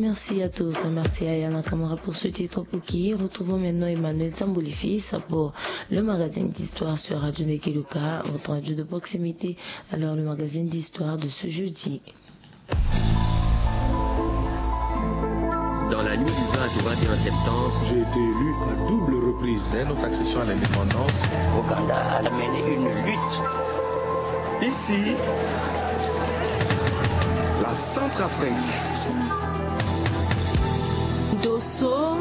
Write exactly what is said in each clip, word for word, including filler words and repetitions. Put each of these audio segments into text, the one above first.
Merci à tous. Merci à Yana Kamara pour ce titre Poki. Retrouvons maintenant Emmanuel Sambouli Fils pour le magazine d'histoire sur Radio Nekeluka, votre radio de proximité. Alors, le magazine d'histoire de ce jeudi. Dans la nuit du vingt au vingt et un septembre, j'ai été élu à double reprise. Dès notre accession à l'indépendance, Ouganda a mené une lutte. Ici, la Centrafrique. Dosso,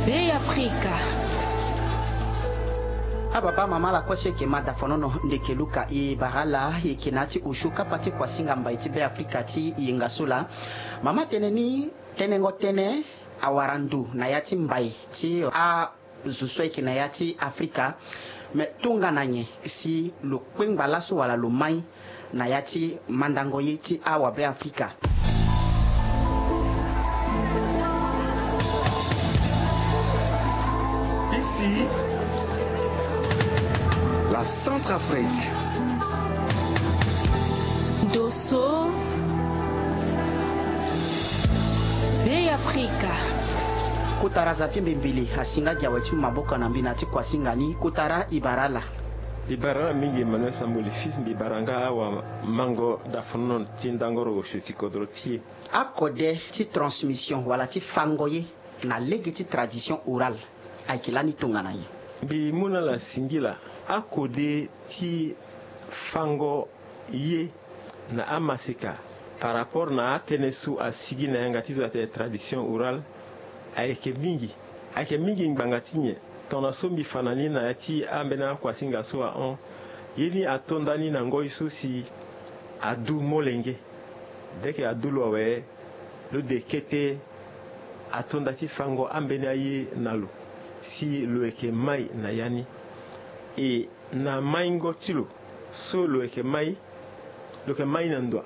Bey Afrika. Ababa mama la kue so eke ma dafonono ndeke luka e bara ala eke na ya ti osio kapa ti kuasinga mbai ti Bey Afrika ti yenga so laa. Mama tene ni tenengo tene awara ndu na ya ti mbai ti azo so ayeke na ya ti Afrika. Me tongana nyen si lo kpengba laso wala lo mai na ya ti mandango ye ti awabe Afrika? Ici, la Centrafrique. Dosso, Bey Afrika. Kotara Zapi Mbembele asinga gi awe ti mu maboko na mbi na ti kuasinga ni. Kotara e bara ala. E bara ala mingi Emmanuel Samboli Fils, mbi bara nga awamango dafonono ti ndangoro osio ti kodro ti e. Akode ti transmission wala ti fango ye na lege ti tradition orale ayeke lani tongana nyen? Mbi mu na ala singila, akode ti fango ye na amaseka par rapport na atënë so asigi na yanga ti zo atene tradition orale ayeke mingi. Ayeke mingi ngbanga ti nyen? Tongana so mbi fa na ni na ya ti ambeni akuasinga so ahon, ye ni ato nda ni na ngoi so si adu molenge. Deke adu lo awe, lo de kete ato nda ti fango ambeni aye na lo si lo yeke mai na ya ni. E na maingo ti lo so lo yeke mai, lo yeke mai na ndoa,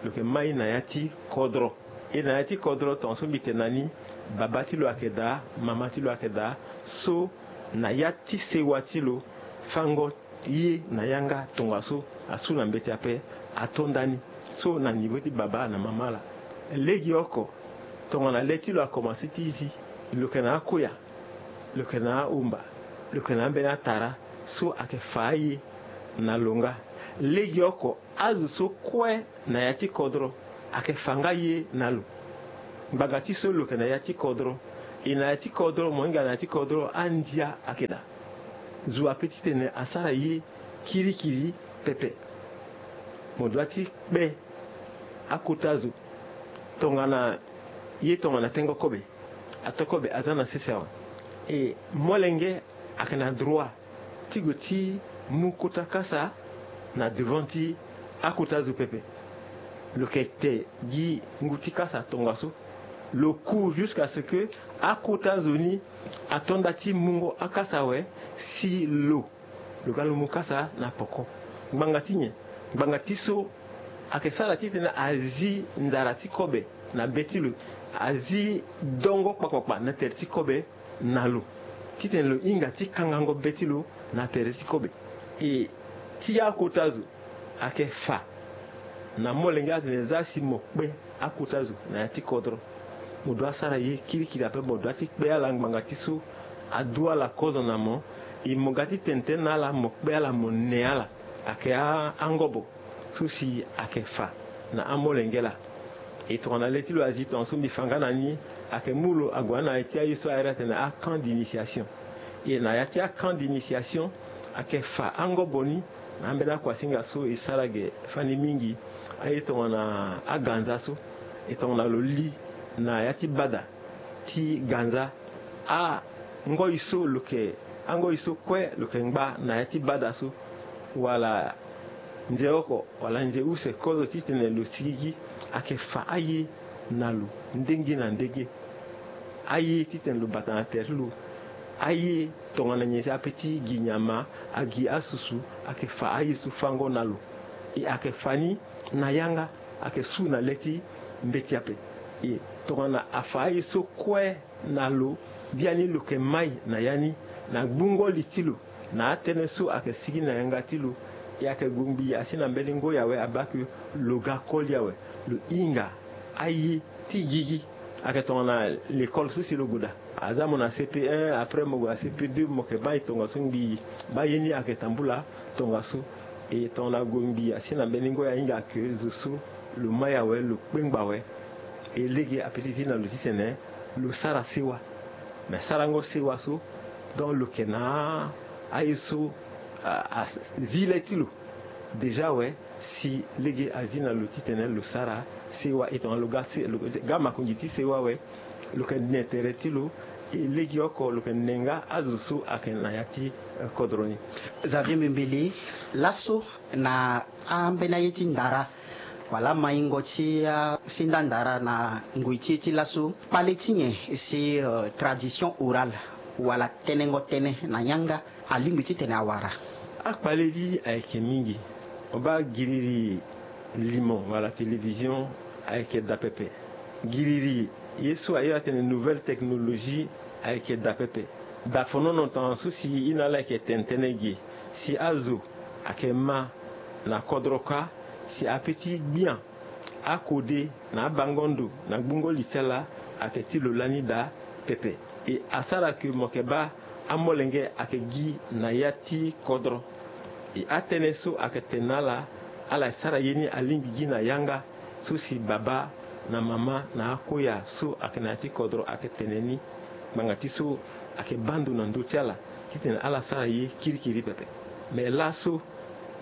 lo yeke mai na ya ti kodro. E na ya ti kodro tongaso mbi tene na ni, baba ti lo ayeke daa, mama ti lo ayeke daa. So na ya ti sewa ti lo, fango ye na yanga tongaso asu na mbeti ape ato nda ni. So na niveau ti baba na mama laa, legeoko tongana le ti lo akomanse ti zi, lo yeke na akuya, lo yeke na ahumba, lo yeke na ambeni atara so ayeke fa aye na lo nga. Legeoko azo so kue na ya ti kodro ayeke fa nga ye na lo. Ngbanga ti so lo yeke na ya ti kodro, e na ya ti kodro, mo hinga na ya ti kodro, andia ayeke daa. Zo ape titene asara ye kirikiri pepe. Mo doit ti kpe akota zo tongana ye tongana tengo kobe, ato kobe aza na sese awe. E molenge ayeke na droit ti gue ti mu kota kasa na devant ti akota zo pepe. Lo yeke te gi ngu ti kasa tongaso. Lo court jusqu'à ce que akota zo ni ato nda ti mungo akasa awe si lo, lo ga lo mu kasa na poko. Ngbanga ti nyen? Ngbanga ti so ayeke sara titene azi nzara ti kobe na be ti lo, azi dongo kpakpakpa na tere ti kobe na lo, titene lo hinga ti kangango be ti lo na tere ti kobe. E ti akota zo ayeke fa na molenge atene za si mo kpe akota zo na ya ti kodro. Mo doit sara ye kirikiri ape, mo doit ti kpe ala ngbanga ti so adu ala kozo na mo. E mo ga ti tene tënë na ala, mo kpe ala, mo ne ala. Ayeke angobo so si ayeke fa na amolenge laa. E tongana le ti lo azi tongaso mbi fa nga na ni, ayeke mu lo ague na ya ti aye so ahiri atene acamp d'initiation. E na ya ti acamp d'initiation ayeke fa angobo ni na ambeni akuasinga so e sara ge fani mingi. Aye tongana aganza so, e tongana lo li na ya ti bada ti ganza, angoi so lo yeke, angoi so kue lo yeke ngba na ya ti bada so, wala nze oko wala nze use kozo titene lo sigigi, ayeke fa aye na lo ndenge na ndenge. Aye titene lo bata na tere ti lo. Aye tongana nyen si ape ti gi nyama, agi asusu, ayeke fa aye so fango na lo. E ayeke fa ni na yanga, ayeke su na le ti mbeti ape. E tongana afa aye so kue na lo, biani lo yeke mai na ya ni na gbungo li ti lo, na atënë so ayeke sigi na yanga ti lo, E ayeke gue ngbii asi na mbeni ngoi awe, abaa ke lo ga koli awe, lo hinga aye ti gigi. Ayeke tongana l'école so si lo gue daa. Aza mo na C P un, après mo gue na C P deux, mo yeke baa e tongaso ngbii. Baa ye ni ayeke tambula tongaso. E tongana gue ngbii asi na mbeni ngoi ahinga ke zo so lo mai awe, lo kpengba awe. E lege ape ti zi na lo titene lo sara sewa. Me sarango sewa so, donc lo yeke na aye so a, a zi le ti lo déjà awe. Si lege azi na lo titene lo sara sewa, e tongana lo ga se, lo ga makonzi ti sewa awe, lo yeke ne tere ti lo. E lege oko lo yeke ne nga azo so ayeke na ya ti, eh, kodro ni. Xavier Mbembele, laso na ambeni aye ti ndara wala maingo ti asinda ndara na ngoi ti e ti laso, kpale ti nyen si, eh, tradition orale wala tenengo tënë na yanga alingbi titene awara? Akpale ni ayeke mingi. Mo baa giriri limo wala télévision ayeke daa pepe. Giriri ye so a iri atene nouvelle technologie ayeke daa pepe. Daa fonono tongana so si e na ala ayeke tene tënë ge si azo ayeke ma na kodro kâ, si ape ti gbia akode na abango ndo na gbungo li ti ala ayeke ti lo lani daa pepe. E asara ke mo yeke baa amolenge ayeke gi na ya ti kodro. E atënë so ayeke tene na ala, ala e sara ye ni alingbi gi na yanga so si baba na mama na akoya so ayeke na ya ti kodro ayeke tene ni. Ngbanga ti so ayeke baa ndo na ndö ti ala titene ala sara ye kirikiri pepe. Me laso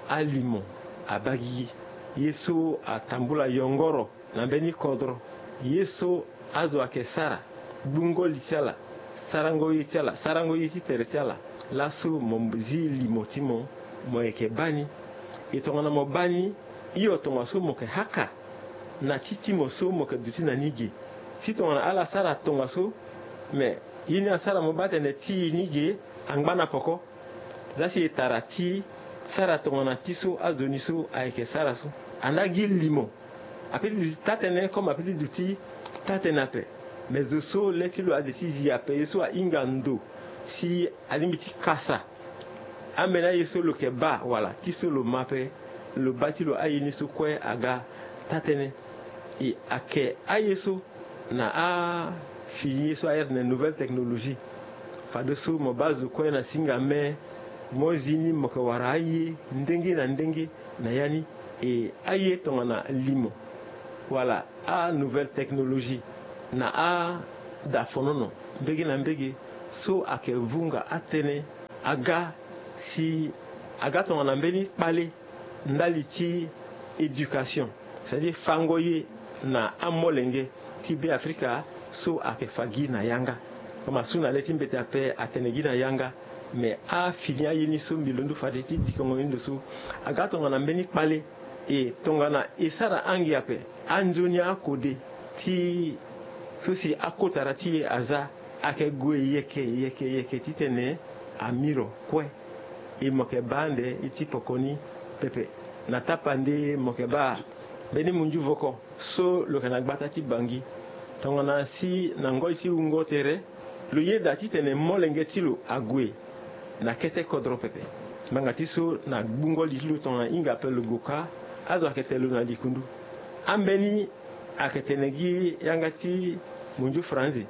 alimo abaa gigi. Ye so atambula yongoro na mbeni kodro, ye so azo ayeke sara, gbungo li ti ala, sarango ye ti ala, sarango ye ti tere ti ala. Laso mo zi limo ti mo, mo yeke baa ni. E tongana mo baa ni, hio tongaso mo yeke haka na ti ti mo so mo yeke duti na ni ge. Si tongana ala sara tongaso, me ye ni asara mo baa tene ti e ni ge angba na poko. Za si e tara ti sara tongana ti so azo ni so ayeke sara so. Andaa gi limo. Ape ti duti taa tënë comme ape ti duti taa tënë ape. Me zo so le ti lo ade ti zi ape, ye so ahinga ndo si alingbi ti kasa ambeni aye so lo yeke baa wala ti so lo ma ape, lo baa ti lo aye ni so kue aga taa tënë. E ayeke aye so na afini ye so a iri atene nouvelle technologie. Fadeso mo baa zo kue na singa me, mo zi ni mo yeke wara aye ndenge na ndenge na ya ni. E aye tongana limo wala anouvelle technologie na ada fonono mbege na mbege so ayeke vunga atënë aga si aga tongana mbeni kpale ndali ti éducation, c'est-à-dire fango ye na amolenge ti Beafrika so ayeke fa gi na yanga. Comme asu na le ti mbeti ape atene gi na yanga, me afini aye ni so mbi londo fade ti dikongo ni ndo so aga tongana mbeni kpale. E tongana e sara ange ape, anzoni akode ti so si akotara ti e aza ayeke gue yeke yeke yeke titene amiro kue. E mo yeke baa ande ye ti poko ni pepe. Na tapande mo yeke baa mbeni munzu voko so lo yeke na gbata ti Bangi. Tongana si na ngoi ti wungo tere, lo yeda titene molenge ti lo ague na kete kodro pepe. Ngbanga ti so na gbungo li ti lo tongana hinga ape lo gue kâ, azo ayeke tene lo na likundu. Ambeni ayeke tene gi yanga ti munzu franzi.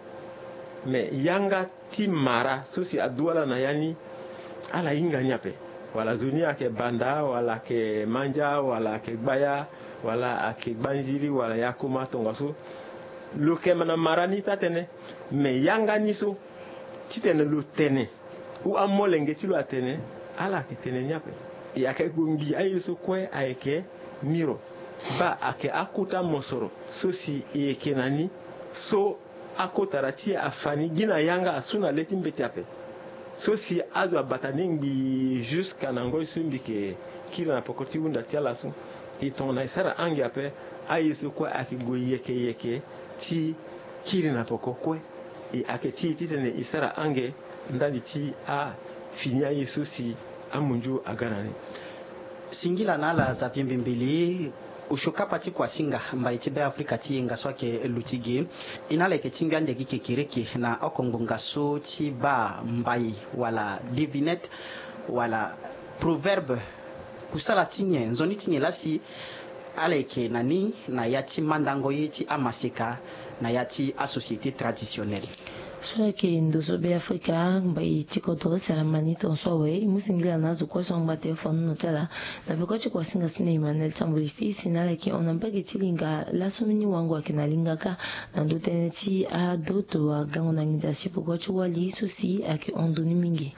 Me yanga ti mara so si adu ala na ya ni, ala hinga ni ape. Wala zo ni ayeke Banda, wala ayeke Mandia, wala ayeke Gbaya, wala ayeke Gbanziri, wala Yakoma, tongaso lo yeke na mara ni taa tënë. Me yanga ni so titene lo tene ou amolenge ti lo atene, ala yeke tene ni ape. E ayeke gue ngbii aye so kue ayeke miro. Baa ayeke akota mosoro so si e yeke na ni so akotara ti e afa ni gi na yanga asu na le ti mbeti ape. So si azo abata ni ngbii jusqu'à na ngoi so mbi yeke kiri na poko ti hunda ti ala so. E tongana e sara ange ape, aye so kue ayeke gue yeke yeke ti kiri na poko kue. E ayeke ti e titene e sara ange ndali ti afini aye so si amunzu aga na ni. Singila na ala Xavier Mbembele, osio kapa ti kuasinga mbai ti Beafrika ti yenga so ayeke luti ge. E na ala yeke tingbi ande gi kekereke na oko ngbonga so ti baa mbai wala devinette wala proverbe Kusala ti nyen, nzoni ti nyen laa si ala yeke na ni na ya ti mandango ye ti amaseka na ya ti asociété traditionnelle? So ayeke ndo so be afrika mbai ti kodro si ala ma ni tonso awe e mu singila na azo kue so angba telefone nono ti ala. Na peko ti kuasinga so na emmanuel ti amboli fils na ala yeke hon na mbage ti linga laso mini wango ayeke na linga kâ na ndo tënë ti adoto agango na nginza si peko ti wali so si ayeke hon ndo ni mingi.